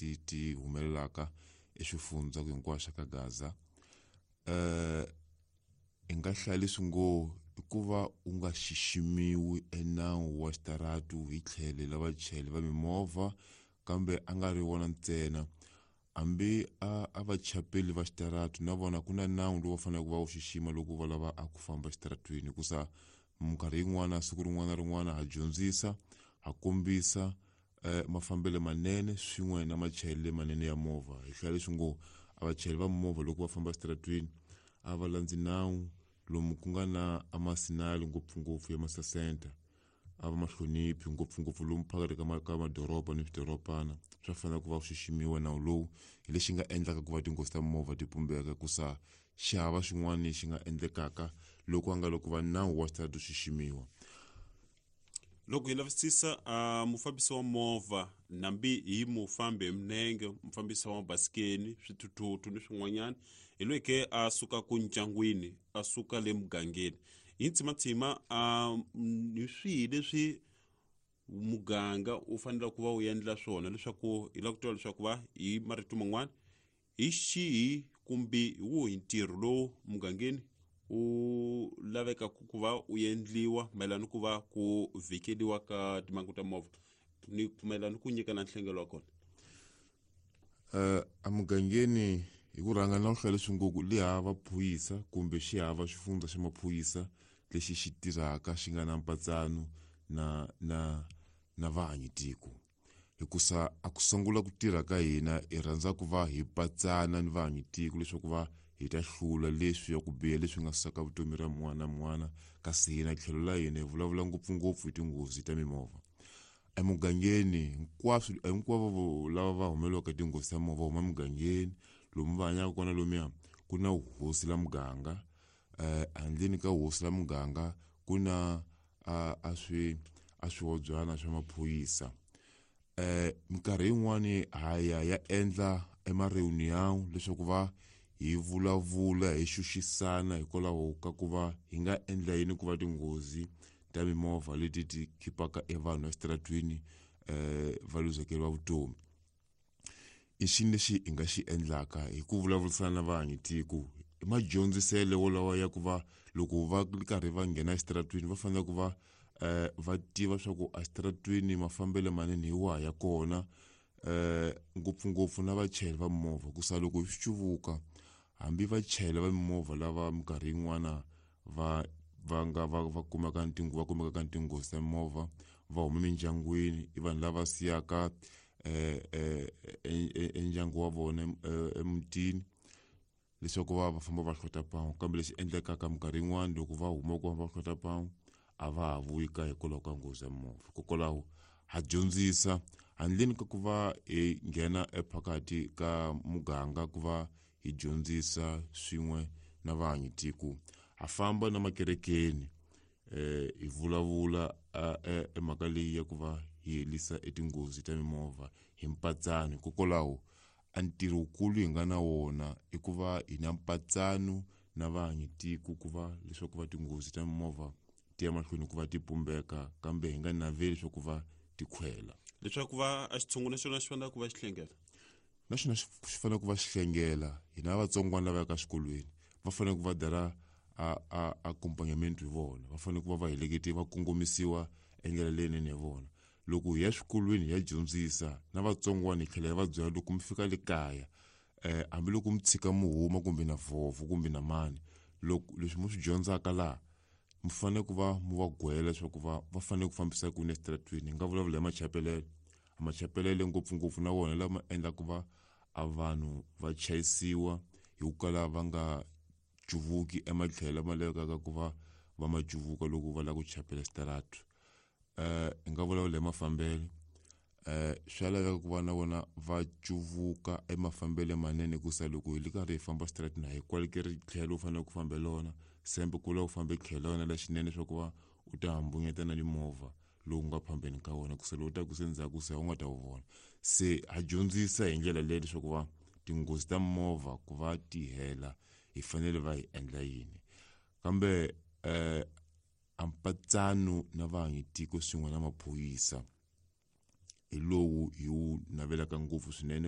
ti ti humelelaka eswifundza hinkwaswo ka Gaza. Hi nga hlaya leswi ngo i ku va u nga xiximiwi enawu wa xitaratu hi tlhelo la vachayeri va mimovha, kambe a nga ri wona ntsena, hambi a vachapeli va xitaratu na vona ku na nawu lowu va faneleke va wu xixima loko va lava a ku famba exitaratwini, hikusa minkarhi yin'wana siku rin'wana na rin'wana ha dyondzisa, ha kombisa mafambelo manene swin'we na machayelelo manene ya movha. Hi hlaya leswi ngo a vachayeri va movha loko va famba exitaratwini a va landzi nawu lomu ku nga na amasinali, ngopfungopfu ya masasenta a va ma hloniphi, ngopfungopfu lomu phakathi ka madoroba ni swidorobana. Swa fanela ku va xiximiwa nawu lowu, hi lexi nga endlaka ku va tinghozi ta movha ti pumbeka, kusa xava xin'wana lexi nga endlekaka loko a nga loko va nawu wa xitaratu xiximiwa. Loko hi lavisisa mufambisi wa movha, nambi hi mufambi hi minenge, mufambisi wa mabasikeni, swithuthuthu ni swin'wanyana, hi loyi ke a suka ku ndyangwini, a suka le mugangeni, hi ntsimatsima hi swihi leswi muganga wu fanele ku va wu endla swona leswaku hi lava ku tiva leswaku va hi marito man'wana hi xihi kumbe hi wuhi ntirho lowu mugangeni wu lavekaka ku va wu endliwa mayelana ku va ku vhikeliwa ka timhangu ta movha ni mayelana ku nyika na nhlengelo wa kona? Emugangeni hi ku rhanga na ku hlaya leswi ngo ku le hava phuyisa kumbe xi hava xifundza xa maphorisa lexi xi tirhaka xi nga na mpatsano na vahanyi tiko, hikusa a ku sungula ku tirha ka hina hi rhandza ku va hi patsana ni vahanyi tiko leswaku va hi ta hlula leswi ya ku biha leswi nga saka vutomi ra mun'wana na mun'wana. Kasi hina tlhelo la hina hi vulavula ngopfungopfu hi tinghozi ta mimovha emugangeni. Hinkwaswo, hinkwavo lava va humelelaka hi tinghozi ta movha huma emugangeni lomu va hanyaka kona. Lomuya ku na hosi la muganga, handleni ka hosi la muganga ku na a swi a swihobyana swa maphorisa. Minkarhi yin'wani ha ya ya endla ema-reunion leswaku va hi vulavula, hi xuxisana hikwalaho ka ku va hi nga endla yini ku va tinghozi ta mimovha leti ti khipaka evanhu exitaratwini va luzekeriwa vutomi. I xini lexi hi nga xi endlaka hi ku vulavurisana na vahanyi tiko? I madyondziselo wolawa ya ku va loko va ri karhi va nghena exitaratwini va fanele ku va va tiva swa ku exitaratwini mafambelo manene hi wahi ya kona, ngopfungopfu na vachayeri va mimovha, ku sa loko swi cuvuka hambi vachayeri va mimovha lava minkarhi yin'wana va nga va kumeka va kumekaka ni tinghozi ta mimovha va huma emindyangwini, i vanhu lava siyaka endyangu wa vona emutini leswaku va famba va hlota mpangu. Kambe lexi endlekaka minkarhi yin'wani loko va huma ku va hlota mpangu a va ha vuyi kaya hikwalaho ka nghozi ya movha. Hikokwalaho ha dyondzisa handleni ka ku va hi nghena ephakathi ka muganga ku va hi dyondzisa swin'we na vahanyi tiko, ha famba na makerekeni hi vulavula emhaka leyi ya ku va hi herisa etinghozi ta mimovha hi mpatsano. Hikokwalaho a ntirho wukulu hi nga na wona i ku va hi na mpatsano na vahanyi tiko ku va leswaku va tinghozi ta mimovha ti ya mahlweni ku va ti pumbeka, kambe hi nga naveli leswaku va ti khwela. Leswaku va a xitshungu na xona xi fanele ku va xi hlengela. Na xona xi fanele ku va xi hlengela. Hina vatsongwana lava yaka exikolweni va fanele ku va dara a accompagnament hi vona, va fanele ku va va heleketiwa, va kongomisiwa endlela leyinene hi vona. Loko hi ya swikolweni hi ya dyondzisa na vatsongwana, hi tlhela hi va byela loko mi fika le kaya, hambiloko mi tshika mi huma kumbe na vhovho kumbe na mani, loko leswi mi swi dyondzaka laha mi fanele ku va mi va gwela leswaku va fanele ku fambisa ku yini exitaratwini. Hi nga vulavula hi machapelelo, machapelelo ngopfungopfu na wona lama endlaka ku va a vanhu va chayisiwa hi ku kala va nga cuvuki ematlhelo lama lavekaka ku va va ma cuvuka loko va lava ku chapela xitaratu. Hi nga vulavula hi mafambelo, swa laveka ku va na vona va cuvuka emafambelo manene, hikusa loko hi ri karhi hi famba xitaratini a hi kwalekeri tlhelo u fanele ku fambela wona sembe ku la u fambe tlhelo la wena lexinene leswaku va u ta hambunyeta na mimovha lowu nga phambeni ka wona, kusa lowu taku se ndzhaku se u nga ta wu vona. Se ha dyondzisa hi ndlela leyi leswaku va tinghozi ta mimovha ku va ti hela hi fanele va hi endla yini, kambe a mpatsano na vahanyi tiko swin'we na maphorisa hi lowu hi wu navelaka ngopfu swinene.